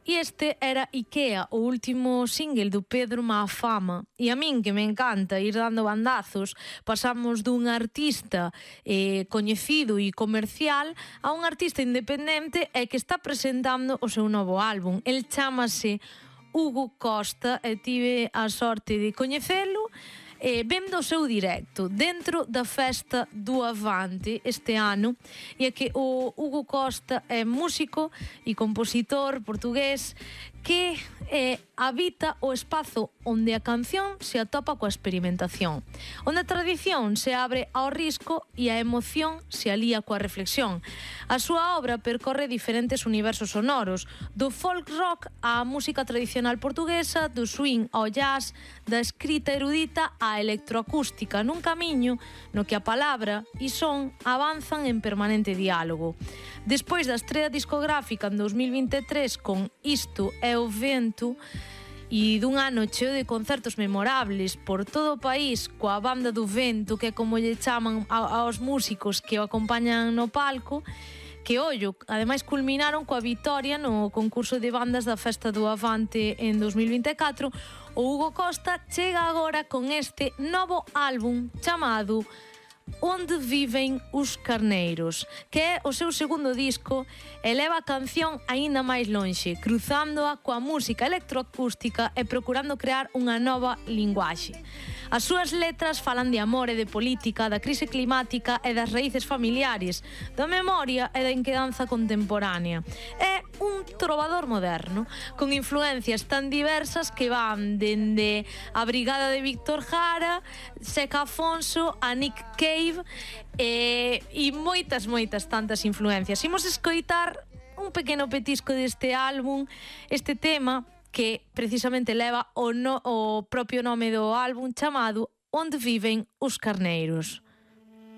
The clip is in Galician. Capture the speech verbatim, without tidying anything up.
E este era Ikea, o último single do Pedro Maafama. E a min, que me encanta ir dando bandazos, pasamos dun artista eh, coñecido e comercial a un artista independente e que está presentando o seu novo álbum. El chámase Hugo Costa e tive a sorte de coñecelo eh, vendo o seu directo dentro da festa do Avante este ano. E é que o Hugo Costa é músico e compositor portugués que eh, habita o espazo onde a canción se atopa coa experimentación, onde a tradición se abre ao risco e a emoción se alía coa reflexión. A súa obra percorre diferentes universos sonoros, do folk rock á música tradicional portuguesa, do swing ao jazz, da escrita erudita á electroacústica, nun camiño no que a palabra e son avanzan en permanente diálogo. Despois da estrea discográfica en dos mil vinte e tres con Isto é o Vento e dun ano cheo de concertos memorables por todo o país coa Banda do Vento, que é como lle chaman aos músicos que o acompañan no palco, que, ollo, ademais culminaron coa vitoria no concurso de bandas da Festa do Avante en dos mil vinte e catro. O Hugo Costa chega agora con este novo álbum chamado Onde Viven os Carneiros, que é o seu segundo disco e leva a canción aínda máis lonxe, cruzándoa coa música electroacústica e procurando crear unha nova linguaxe. As súas letras falan de amor e de política, da crise climática e das raíces familiares, da memoria e da inquedanza contemporánea. É un trovador moderno, con influencias tan diversas que van dende a Brigada de Víctor Jara, Seca Afonso, a Nick Cave e, e moitas, moitas tantas influencias. Imos escoitar un pequeno petisco deste álbum, este tema que precisamente leva o, no, o propio nome do álbum chamado Onde Viven os Carneiros.